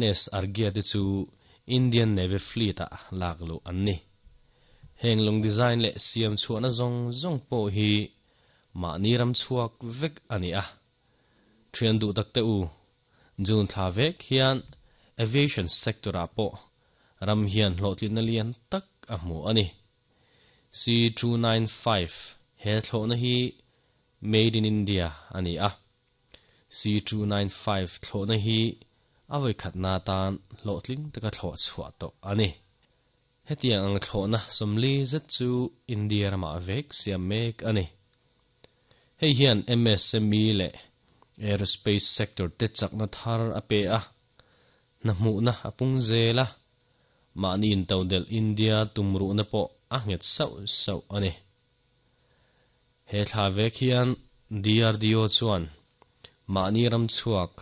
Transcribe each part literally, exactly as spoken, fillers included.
N S Arghya te chu Indian Navy Fleet ah lak luh an ni. Heng lawng design leh siam chhuahna zawng zawng pawh hi mahni ram chhuak vek a ni a. Thian duh tak te u, June thla vek hian aviation sector ah pawh ram hian hlawhtlinna lian tak a hmu a ni. C two nine five he thlawhna hi Made in India a ni a. C two nine five thlawhna hi a vawikhatna atan hlawhtling taka thlawh chhuah tawh a ni. Hetiang ang thlawhna sawmli zet chu India ramah vek siam mek a ni. Hei hian M S M E leh aerospace sector te chakna thar a pe a, hna hmuhna a pung zel a, mahni intodelh India tumruhna pawh a nghet sauh sauh a ni. He thla vek hian D R D O chuan mahni ram chhuak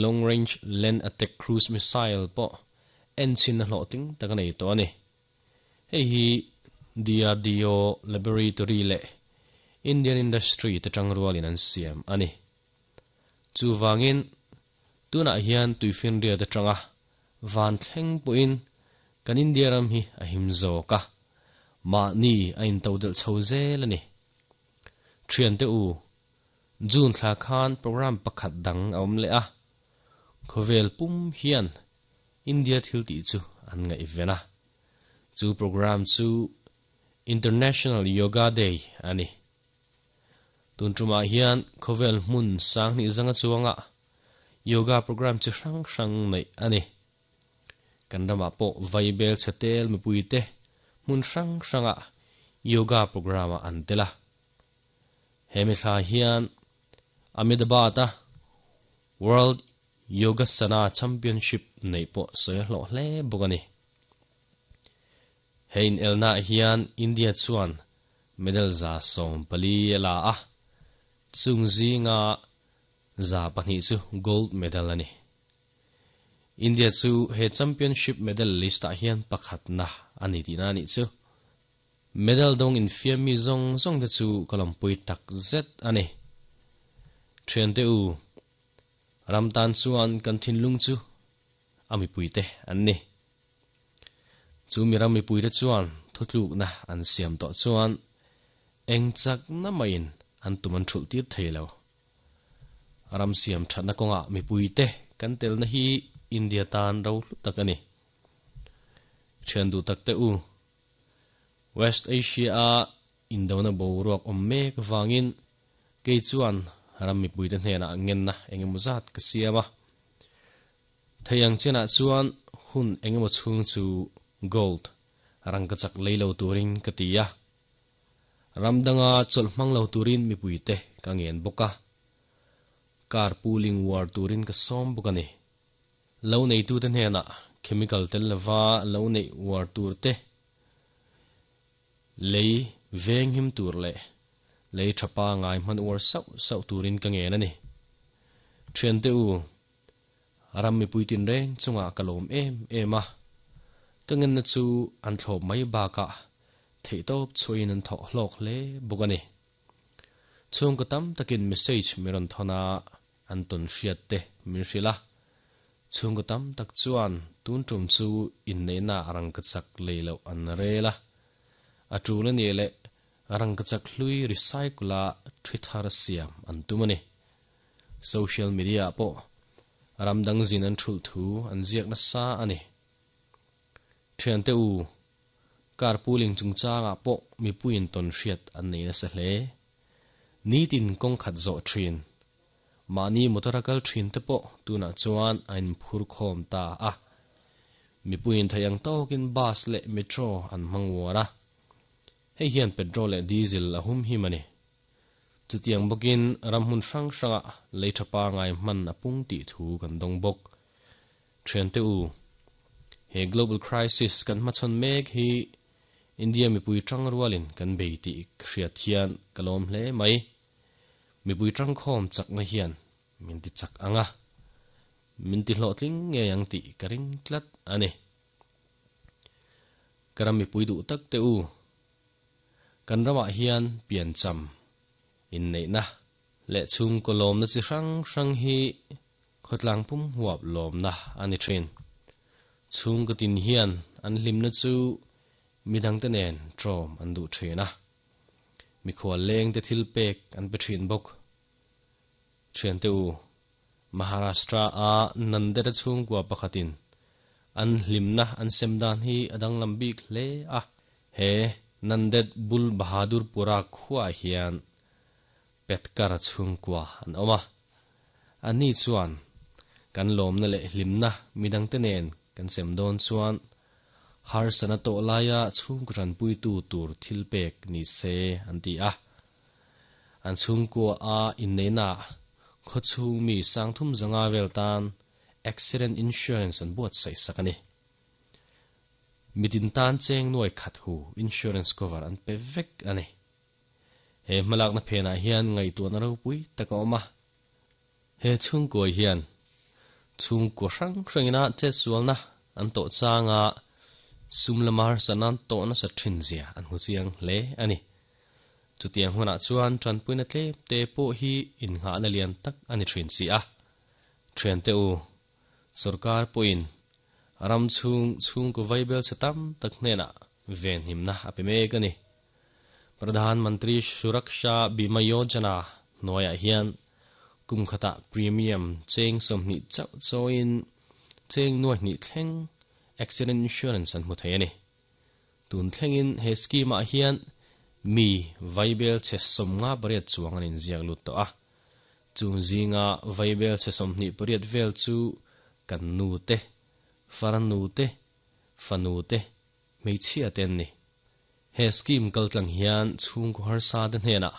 Long Range Land Attack Cruise Missile pawh en chin a hlawhtling tak a nei tawh a ni. Hei hi D R D O Laboratory leh Indian Industry te tang rualin an siam a ni. Chuvangin tunah hian tuifinria te tanga van thleng pawhin kan India ram hi a him zawk a, mahni a intodelh chho zel a ni. Thian te u, June thla khan program pakhat dang a awm leh a, khawvel pum hian India thil tih chu an ngaih ven a. Chu program chu International Yoga Day a ni. Tun tumah hian khawvel hmun sang hnih zanga chuanga yoga program chi hrang hrang nei a ni. Kan ramah pawh vaibel chhetel mipui te hmun hrang hranga yoga program a an tel a. Hemi thla hian Ahmedabad-a World Yogasana Championship nei pawh sawi hlawh hle bawk a ni. Hei in elna hian India chuan medal za sawm pali a la a, chung zinga za pahnih chu gold medal a ni. India chu he championship medal list ah hian pakhatna a ni tihna a nih chu. Medal dawng infiam mi zawng zawng te chu ka lawmpui tak zet a ni. Thian te u, ram tan chuan kan thinlung chu a mipui te an ni. Chu mi ram mipui te chuan thutlukna an siam tawh chuan eng chak na maiin an tum an thulh tir thei lo. Ram siam thatna kawnga mipui te kan telna hi India tan ro hlu tak a ni. Thian duh tak te u, West Asia a Indona boruak awm mek vangin kei chuan ram mipui te hnenah ngenna engemaw zat ka siam a. Theiang chenah chuan hun engemaw chhung chu gold rangka chak lei lo turin ka ti a. Ram danga chawlh hmang lo turin mipui te ka ngen bawk a. Car pooling war turin ka sawm bawk a ni. Lo neitu te hnenah chemical tel lova lo nei war tur te lei veng him tur leh lei thapa ngai hman war sauh sauh turin ka ngen a ni. Thian te u, ram mipui tin reng chunga ka lawm em em a. Ka ngenna chu an thlawp mai bakah theihtawp chhuain an thawh hlawk hle bawk a ni. Chhung ka tam takin message mi rawn thawna an tawn hriat te min hrilh a. Chhung ka tam tak chuan tun tum chu inneihna rangka chak lei loh an rel a. A tul a ni leh rangka chak hlui recycle a thi thar siam an tum a ni. Social media pawh ram dang zin an thulh thu an ziak nasa a ni. Thian te u, car pooling chungchangah pawh mipuiin tawn hriat an nei nasa hle. Nitin kawng khat zawh thin. Mahni motor a kal thin te pawh tunah chuan a inphur khawm ta a. Mipuiin theiang tawkin bus leh metro an hmang war a. Hei hian petrol leh diesel a hum him a ni. Chutiang bawkin ram hmun hrang hranga lei thapa ngai hman a pung tih thu kan dawng bawk. Thian te u, he global crisis kan hmachhawn mek hi India mipui tang rualin kan bei tih hriat hian ka lawm hle mai. Mipui tang khawm chakna hian min ti chak anga. Min ti hlawhtling nge ang tih ka ring tlat a ni. Ka ram mipui duh tak te u, kan ramah hian pian cham inneihna leh chhung ka lawmna chi hrang hrang hi Khotlang pum huap lom na ani thin. Chung ka tin hian an hlim na chu midang te nen trom an du thina. Mi khwal leng te thil pek an pe thin bok. Thian te u Maharashtra a Nanded chung kwa pakhatin an hlimna an semdan hi adang lambik hle a. He Nanded Bul Bahadur Pura khuwa hian Petkar chung kwa an oma. Ani chuan kan lomna le hlimna midang te nen kan semdon chuan har sana to laya chung ran pui tu tur thil pek ni se an ti a. An chung kwa a in nei na kho chung mi sang thum zanga vel tan accident insurance an buat sai sakani. Mitin tan cheng noi khat hu insurance cover an pe vek ani. He malak na phena hian ngai tu na ro pui takoma. He chung ko hian chung ko rang rangina che sualna an to changa sumlamar sanan to na sa thin zia an hu chiang le ani. Chutiang huna chuan tran puina tle te po hi in nga na lian tak ani thin si a. Thian te u sarkar poin ram chung chung ko vaibel chatam tak hne na ven himna ape mek ani. Pradhan Mantri Suraksha Bima Yojana noya hian kum khata premium cheng somni chau choin cheng nuai ni thleng accident insurance an mu thei ani. Tun thlengin he scheme a hian mi vaibel che somnga pariat chuang an inziak lut to a. Chung zinga vaibel che somni pariat vel chu kan nu te faran nu te fanu te meichhia ten ni. He scheme kal tlang hian chung ko har sa den hena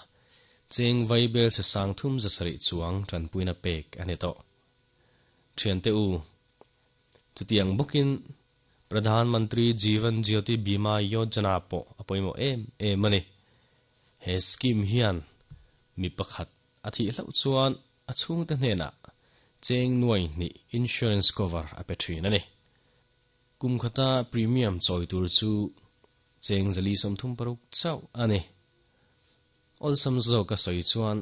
cheng vaibel che sang thum za sari chuang tran puina pek ani to. Thian te u chutiang bukin Pradhan Mantri Jeevan Jyoti Bima Yojana po apoimo em em ani. He scheme hian mi pakhat athi hlau chuan a chung te hnena cheng nuai ni insurance cover a pe thin ani. Kum khata premium choi tur chu cheng zali som thum paruk chau ani. Ol sam zo ka soi chuan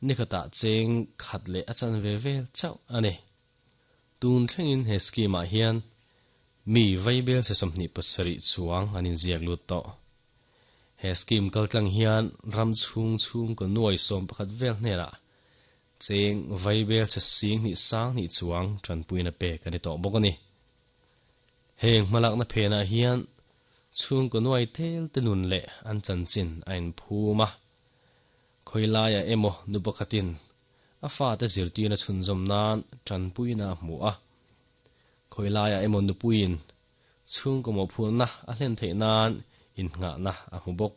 nikhata cheng khat le achan ve vel chau ani. Tun thlengin he scheme a hian mi vaibel se somni pasari chuang anin ziak lut to. He scheme kal tlang hian ram chung chung ko nuai som pakhat vel hnena cheng vaibel se sing ni sang ni chuang tran puina pe kan to bok ani. Heng malak na phena hian chung ko nuai tel te nun le an chan chin ain phuma. Khoilaya emo nu pakhatin a fa te zirti na chunzom nan tran puina mu a. Khoilaya emo nu puin chung ko mo phul na a hlen thei nan in nga na a mu bok.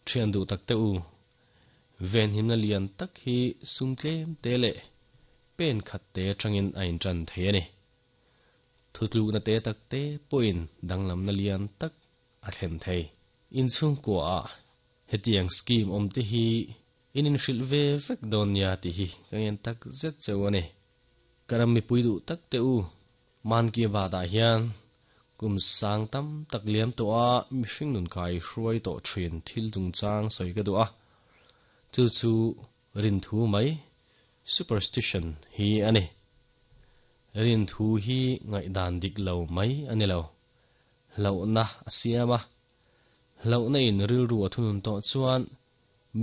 Thian du tak te u ven him na lian tak hi sum tlem te le pen khat te tangin ain tran the ani. Thutlu na te tak te poin danglam na lian tak a thlen thei. In chung ko a hetiang scheme om te hi in in hril ve vek don ya ti hi kangen tak zet cheu ani. Karam mi pui du tak te u man ki ba da hian kum sang tam tak liam to a mi hring nun kai hruai to thin thil chung chang soi ka du a. Chu chu rin thu mai superstition hi ani. Rin thu hi ngai dan dik lo mai ani lo. Lo na asiama lo na in ril ru thunun to chuan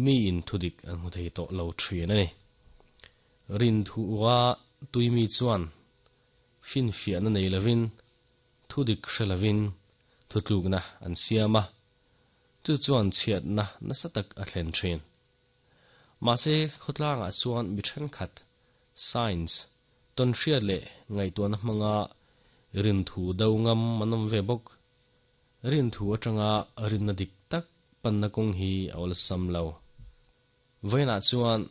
mi in thudik an mu thei to lo thin ani. Rin thu wa tui mi chuan fin fia na nei lovin thudik hrelovin thutluk na an siama chu chuan chiat na na satak a thlen thin. Ma se khotlanga chuan mi then khat science ton hriat le ngai tuan hmanga rin thu do ngam manom ve bok. Rin thu atanga rin na dik tak pan na kong hi awl sam lo. Voina chuan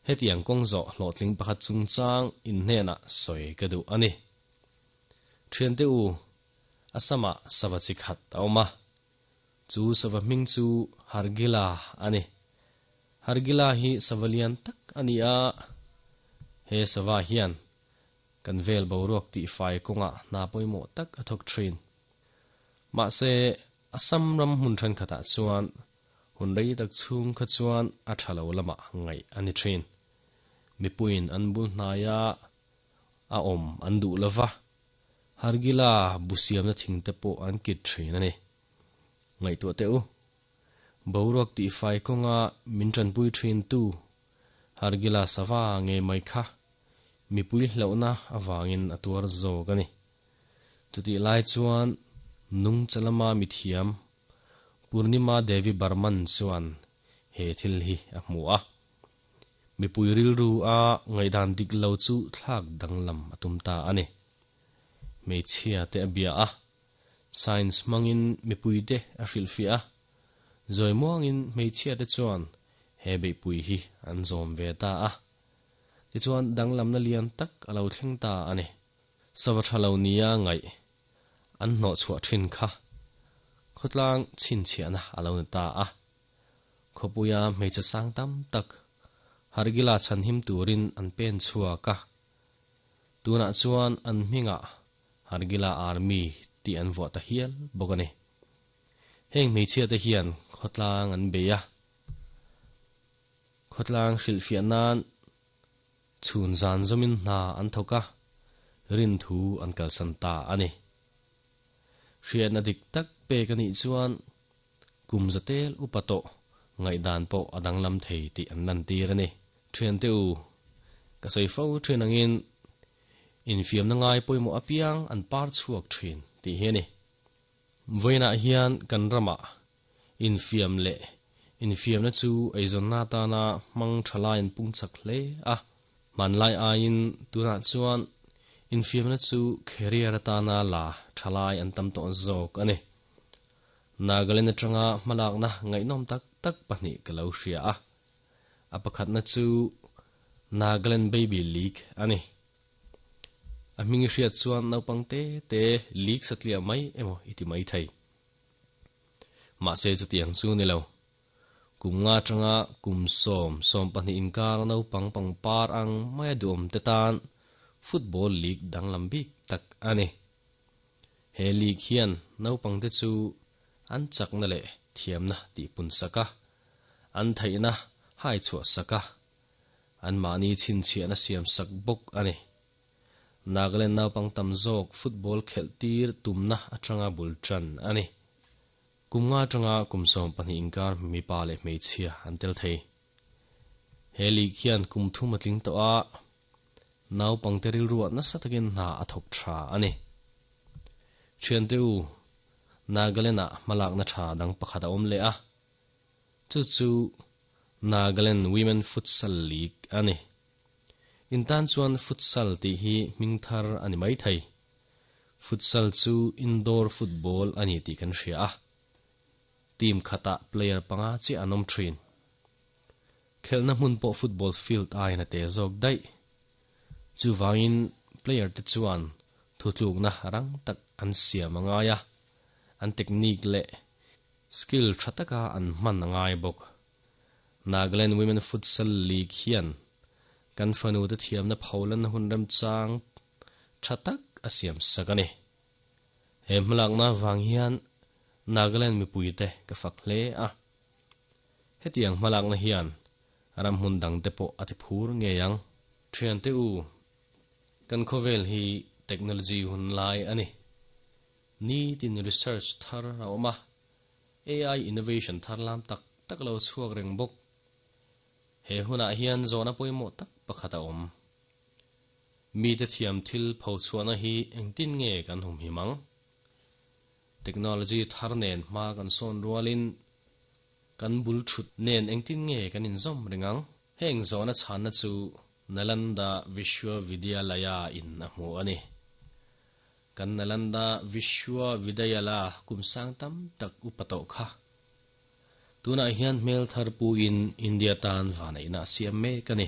hetiang kong zo hlawhtling pakhat chung chang in hnena soi ka du ani. Thian te u asama sawa chi khat awma chu sawa hming chu Hargila ani. Hargila hi savalian tak ani a. He sawa hian kan vel boruak ti fai konga na poimo tak athok thin. Ma se asam ram hun than khata chuan hun rei tak chung kha chuan a thalo lama ngai ani thin. Mipuin an bul hnaiha a awm an duh lova. Hargila busiam na thing te pawh an kit thin ani. Ngaihtuah teh u. Boruak tih fai kawnga min tanpui thin tu Hargila sava nge mai kha mipui hlauhna awangin a tuar zawk ani. Chutih lai chuan nung chalama mithiam Purnima Devi Barman chuan he thil hi a hmu a. Mipui rilru a ngaihdan dik lo chu thlak danglam a tum ta ani. Hmeichhia te a bia a. Science hmangin mipui te a hrilhfiah a. Zawi muangin hmeichhia te chuan he beihpui hi an zawm ve ta a. Tichuan danglamna lian tak a lo thleng ta ani. Sava tha lo nia ngaih an hnawh chhuah thin kha. Khawtlang chhinchhiahna a lo ni ta a. Khawpuia hmeichhe sang tam tak Hargila chhanhim turin an pen chhuak a. Tunah chuan an hmingah Hargila Army tih an vuah ta hial bawk ani. Heng hmeichhia te hian khawtlang an bei a. Khawtlang hrilhfiah nan chhun zan zawmin hna an thawk a. Rin thu an kalsan ta ani. Hriatna dik tak pek anih chuan kum zatel upa tawh ngaihdan pawh a danglam thei tih an lan tir ani. Thian te u ka sawi fo thin angin infiamna ngai pawimawh apiang an par chhuak thin tih hi ani. Vawiinah hian kan ramah infiam leh infiamna chu eizawnna atana hmang tha lai an pung chak hle a. Hmanlai aiin tunah chuan infiamna chu career atana la tha lai an tam tawh zawk ani. Nagaland atanga hmalakna ngaihnawm tak tak pahnih ka lo hria a. A pakhatna chu Nagaland Baby League ani. A hming i hriat chuan naupang te te league satliah mai emaw i ti mai thei. Mahse chutiang chu ni lo. Kum nga atanga kum sawm sawm pahnih inkar naupang pangpar ang mai a duhawm te tan football league danglam bik tak ani. He league hian naupang te chu an chakna leh thiamna tih pun sak a. An theihna hai chhuah sak a. An mahni chhinchhiahna siam sak bawk ani. Nagaland naupang tam zawk football khelh tir tumna atanga bul tan ani. Kum nga atanga kum sawm pahnih inkar mipa leh hmeichhia an tel thei. He league hian kum thum a tling tawh a. Naupang te rilruah nasa takin hna a thawk tha ani. Thian te u Nagaland ah hmalakna tha dang pakhat a awm leh a. Chu chu Nagaland Women Futsal League ani. Intan chuan futsal tih hi hming thar ani mai thei. Futsal chu indoor football ani tih kan hria a. Team khatah player panga chiah an awm thin. Khelhna hmun pawh football field aiin a te zawk daih. Chuvangin player te chuan thutlukna rang tak an siam a ngai a. An technique leh skill tha taka an hman a ngai bawk. Nagaland Women Futsal League hian kan fanu te thiamna pholan hun rem chang tha tak a siam sak ani. He hmalakna vang hian Nagaland mipui te ka fak hle a. Hetiang hmalakna hian ram hmun dang te pawh a ti phur ngei ang. Thian te u kan khawvel hi technology hun lai ani. Ni tin research thar a awm a. A I innovation thar lam tak tak lo chhuak reng bawk. He hunah hian zawhna pawimawh tak pakhat a awm. Mi te thiam thil pho chhuahna hi engtin nge kan hum him ang. Technology thar nen hma kan sawn rualin kan bul thut nen engtin nge kan inzawm reng ang. Heng zawhna chhanna chu Nalanda Vishwavidyalaya in a hmu ani. Kan Nalanda Vishwavidyalaya kum sang tam tak upa tawh kha. Tunah hian hmel thar puin India tan vanaihna siam mek ani.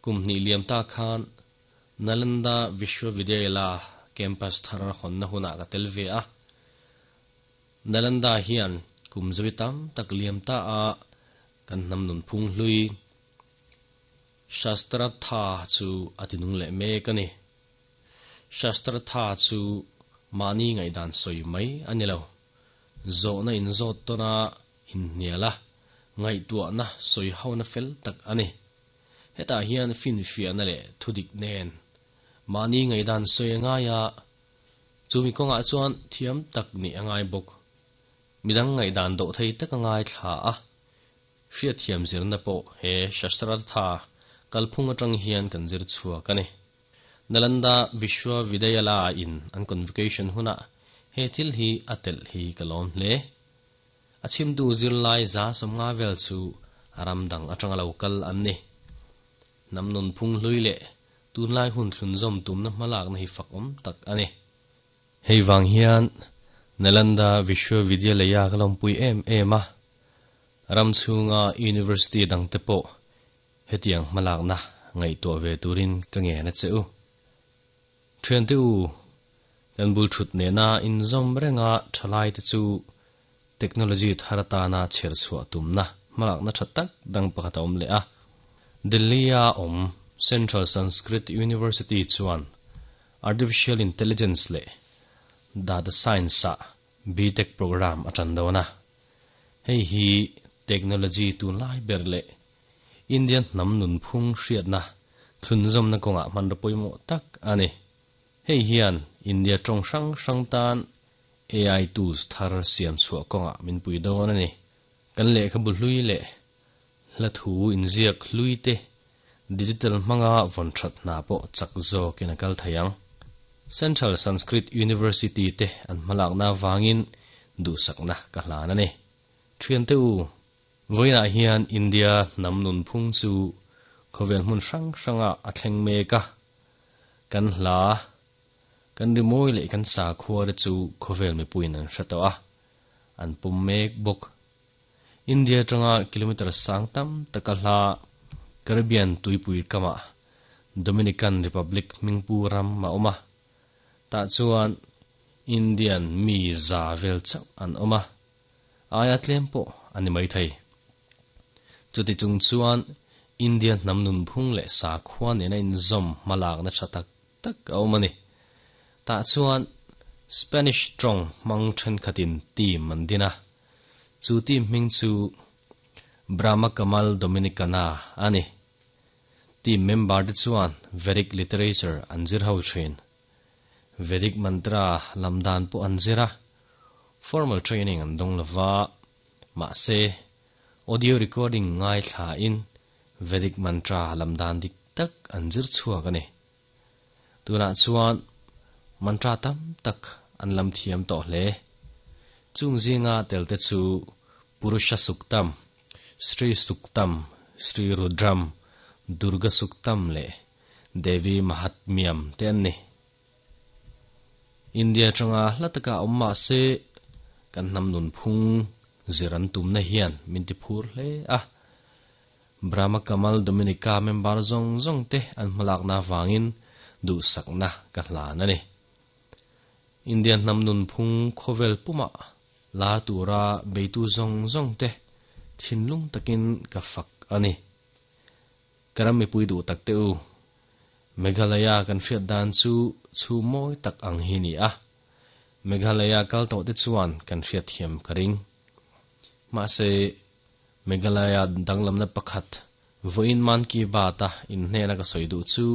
Kum hnih liam ta khan Nalanda Vishwavidyalaya campus thar hawnna hunah ka tel ve a. Nalanda hian kum zawi tam tak liam ta a kan hnam nun phung hlui Shastra tha chu a tinung leh mek ani. Shastra tha chu mahni ngaihdan sawi mai ani lo. Zawhna inzawt tawna inhnial a, ngaihtuahna sawi hona fel tak ani. Hetah hian finfiahna leh thudik nen mahni ngaihdan sawi a ngai a, chumi kawngah chuan thiam tak nih a ngai bawk. Midang ngaihdan dawh thei tak a ngai thla a, hriatthiam zirna pawh he Shastrartha kalphung atang hian kan zir chhuak a ni. Nalanda Vishwavidyalaya in an convocation hunah he thil hi a telh hi ka lawm hle. A chhimtu zirlai za sawmnga vel chu a ram dang atanga lo kal an ni. Hnam nun phung hlui leh tunlai hun thlunzawm tumna hmalakna hi fak awm tak a ni. Hei vang hian Nalanda Vishwavidyalaya ka lawmpui em em a, ram chhunga university dangte pawh hetiang hmalakna ngaihtuah ve turin ka ngen a che u. Thiante u, kan bul thut nena inzawm renga thalaite chu technology thar atana chher chhuah tumna hmalakna tha tak dang pakhat a awm leh a. Delhi-a awm Central Sanskrit University chuan Artificial Intelligence leh Data Science-ah B-Tech program a tan dawn a. Hei hi technology tunlai ber leh Indian hnam nunphung hriatna thlunzawmna kawngah hmanraw pawimawh tak a ni. Hei hian India tawng hrang hrang tan A I tools thar siam chhuah kawngah min pui dawn a ni. Kan lehkhabu hlui leh hla thu inziak hlui te digital hmanga vawn that hna pawh chak zawkin a kal thei ang. Central Sanskrit University te an hmalakna vangin duhsakna ka hlan a ni. Thiante u, vawiinah hian India hnam nunphung chu khawvel hmun hrang hranga a thleng mek a. Kan hla, kan rimawi leh kan sakhua te chu khawvel mipuiin an hre tawh a, an pum mek bawk. India atanga kilometer sang tam taka hla Caribbean tuipui kamah Dominican Republic hmingpu ram a awm a, tah chuan Indian mi za vel chauh an awm a, aia tlem pawh a ni mai thei. Chuti chung chuan India hnam nunphung leh sakhua nena inzawm hmalakna tha tak tak a awm a ni. Tah chuan Spanish tawng hmang thenkhatin team an din a, chu team hming chu Brahma Kamal Dominicana a ni. Team member te chuan Vedic literature an zir ho thin. Vedic mantra lam dan pawh an zir a, formal training an dawng lova, mahse audio recording ngaithlain Vedic mantra lam dan dik tak an zir chhuak a ni. Tunah chuan mantra tam tak an lam thiam tawh hle. Chung zinga tel te chu Purusha Suktam, Sri Suktam, Sri Rudram, Durga Suktam leh Devi Mahatmyam te an ni. India atanga hla taka awm mahse kan hnam nunphung zir an tumna hian min ti phur hle a. Brahma Kamal Dominica member zawng zawng te an hmalakna vangin duhsakna ka hlan a ni. Indian hnam nunphung khawvel pumah lar tura beitu zawng zawng te thinlung takin ka fak a ni. Ka ram mipui duh tak te u, Meghalaya kan hriat dan chu chhu mawi tak ang hi ni a. Meghalaya kal tawh te chuan kan hriat thiam ka ring. Mahse, Meghalaya danglamna pakhat vawiin Man Ki Baat-a inhnena ka sawi duh chu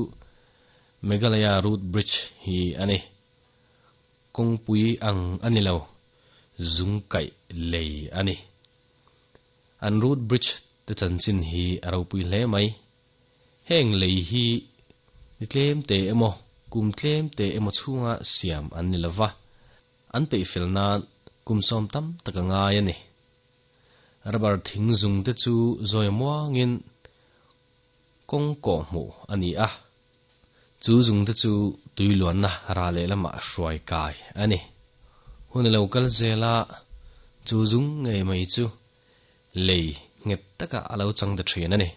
Meghalaya Root Bridge hi a ni. Kawngpui ang a ni lo, zung kaih lei a ni. An root bridge te chanchin hi a ropui hle mai. Heng lei hi ni tlem te emaw, kum tlem te emaw chhunga siam an ni lova, an peihfel nan kum sawm tam tak a ngai a ni. Rubber thing zung te chu zawi muangin kawng kawh hmuh a ni a, chu zung te chu tuiluanna ra leh lamah hruai kai a ni. Hun lo kal zela chu zung ngei mai chu lei nghet taka a lo chang ta thin a ni.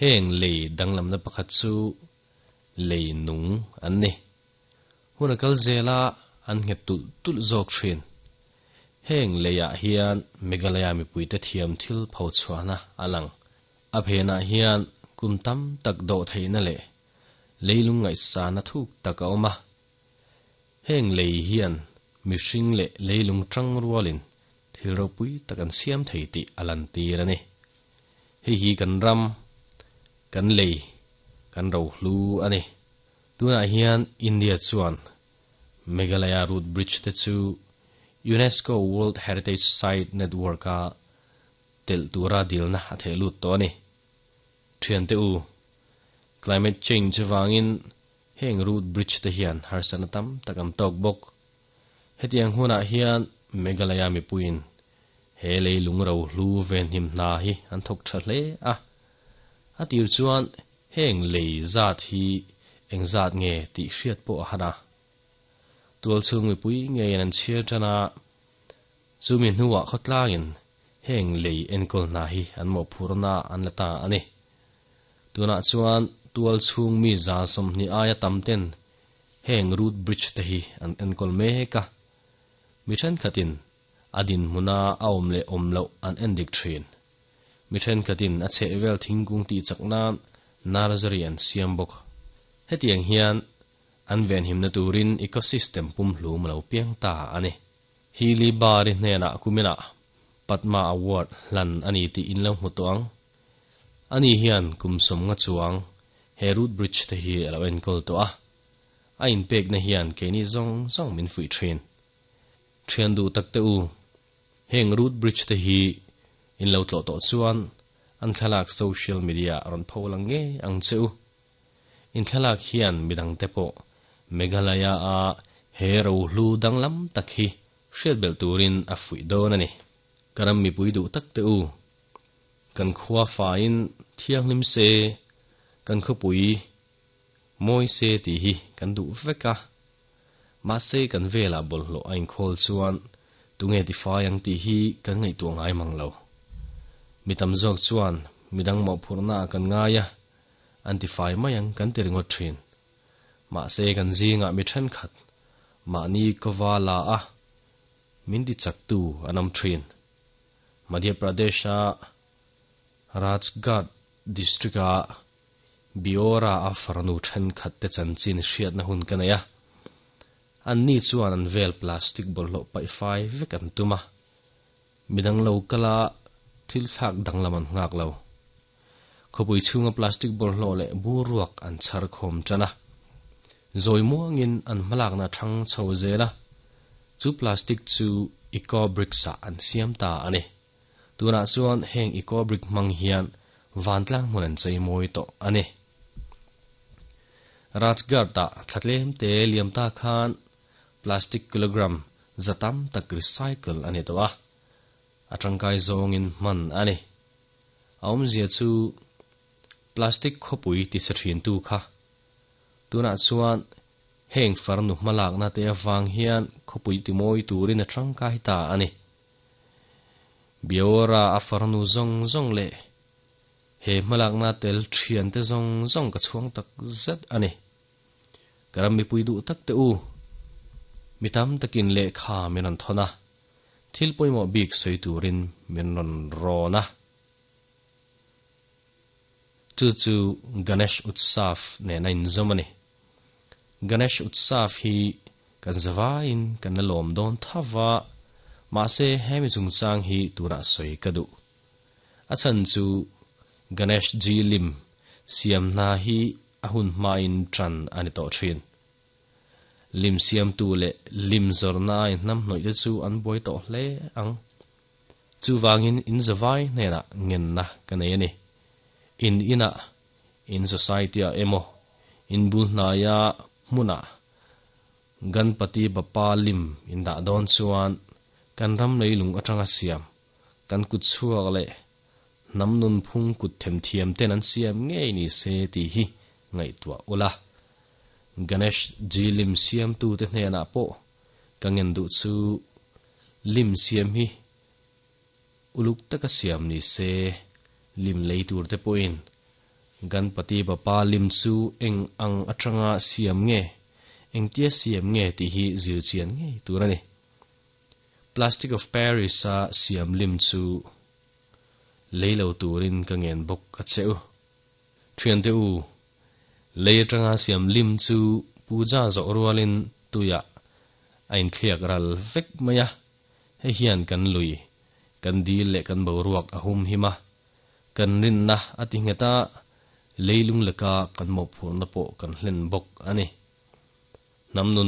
Heng lei danglamna pakhat chu lei nung an ni. Hun a kal zela an nghet tulh tulh zawk thin. Heng leiah hian Meghalaya mipuite thiam thil pho chhuahna a lang. A phenah hian kum tam tak dawh theihna leh leilung ngaihsana thuk tak a awm a. Heng lei hian mihring leh leilung tang rualin thil ropui tak an siam thei tih a lan tir a ni. Hei hi kan ram Kan lei kan ro hlu ani. Tunah hian India chuan Meghalaya Root Bridge te chu UNESCO World Heritage Site Network a telh tura dilna a theh lut tawh a ni. Thiante u, climate change avangin heng root bridge te hian harsatna tam tak an tawk bawk. Hetiang hunah hian Meghalaya mipuiin he lei lung ro hlu venhim hna hi an thawk tha hle a. A tir chuan heng lei zat hi eng zat nge tih hriat pawh a han a. Tual chhung mipui ngeiin an chhiar tan a, chumi hnuah khawtlangin heng lei enkawl hna hi an mawhphurna an la ta a ni. Tunah chuan tual chhung mi za sawmhnih aia tam ten heng root bridge te hi an enkawl mek a. Mi thenkhatin a dinhmuna a awm leh awm loh an endik thin. Mi thenkhatin a chhehvel thingkung tih chak nan nursery an siam bawk. Hetiang hian an venhimna turin ecosystem pumhlum a lo piang ta a ni. Hili Bari hnenah kuminah Padma Award hlan a ni tih in lo hmu tawh ang. Ani hian kum sawm nga chuang he root bridge te hi a lo enkawl tawh a. A inpekna hian keini zawng zawng min fuih thin. Thian duh tak te u, heng root bridge te hi in lo tlawh tawh chuan an thlalak social media rawn pho lang ngei ang che u. In thlalak hian midang te pawh Meghalaya a he ro hlu danglam tak hi hriat belh turin a fuih dawn a ni. Ka ram mipui duh tak te u, kan khua faiin thianghlim se, kan khawpui mawi se tih hi kan duh vek a. Mahse kan velah bawlhhlawh a inkhawl chuan tunge tifai ang tih hi kan ngaihtuah ngai mang lo. Mi tam zawk chuan midang mawhphurhna ah kan ngai a, an tifai mai ang kan ti ringawt thin. Mahse kan zingah mi thenkhat mahni kawva la a min ti chaktu an awm thin. Madhya Pradesh-a Rajgarh district-a Biora a farnu thenkhat te chanchin hriatna hun ka nei a. Anni chuan an vel plastic bawlhhlawh paih fai vek an tum a. Midang lo kala thil thlak danglam an nghak lo. Khawpui chhunga plastic bawlhhlawh leh bur ruak an chhar khawm tan a. Zawi muangin an hmalakna thang chho zel a. Chu plastic chu eco bricks ah an siam ta a ni. Tunah chuan heng eco brick hmang hian vantlang hmun an chei mawi tawh a ni. Rajgarh-ah thla tlem te liam ta khan plastic kilogram za tam tak recycle a ni tawh a, a tangkai zawngin hman a ni. A awmzia chu plastic khawpui ti sa thintu kha. Tunah chuan heng farnu hmalakna te avang hian khawpui ti mawi turin a tangkai ta a ni. Biora a farnu zawng zawng leh he hmalakna tel thian te zawng zawng ka chhuang tak zet a ni. Ka ram mipui duh tak te u, mi tam takin lehkha min rawn thawn a, thil pawimawh bik sawi turin min rawn rawn a. Chu chu Ganesh Utsav nen a inzawm a ni. Ganesh Utsav hi kan zavaiin kan la lawm dawn thava, mahse hemi chungchang hi tunah sawi ka duh. A chhan chu Ganesh Ji lim siam hna hi a hun hmain tan a ni tawh thin. Lim siamtu leh lim zawrhna a inhnam hnawih te chu an buai tawh hle ang. Chuvangin in zavai hnenah ngenna ka nei a ni. In inah, in society-ah emaw, in bul hnaia hmunah Ganpati Bappa lim in dah dawn chuan kan ram leilung atanga siam, kan kut chhuak leh hnam nunphung kut themthiam ten an siam ngei ni se tih hi ngaihtuah ula. Ganesh Ji lim siamtu te hnenah pawh ka ngen duh chu lim siam hi uluk taka siam ni se, lim lei tur te pawhin Ganpati Bappa lim chu eng ang atanga siam nge, engtia siam nge tih hi zir chian ngei tur a ni. Plastic of Paris a siam lim chu lei lo turin ka ngen bawk a che u. Thiante u, lei atanga siam lim chu puja zawh rualin tuiah a inthliak ral vek mai a, hei hian kan lui, kan dil leh kan boruak a hum him a, kan rinna a ti nghet a, Leilung laka kan mawhphurhna pawh kan hlen bawk a ni. Hnam nun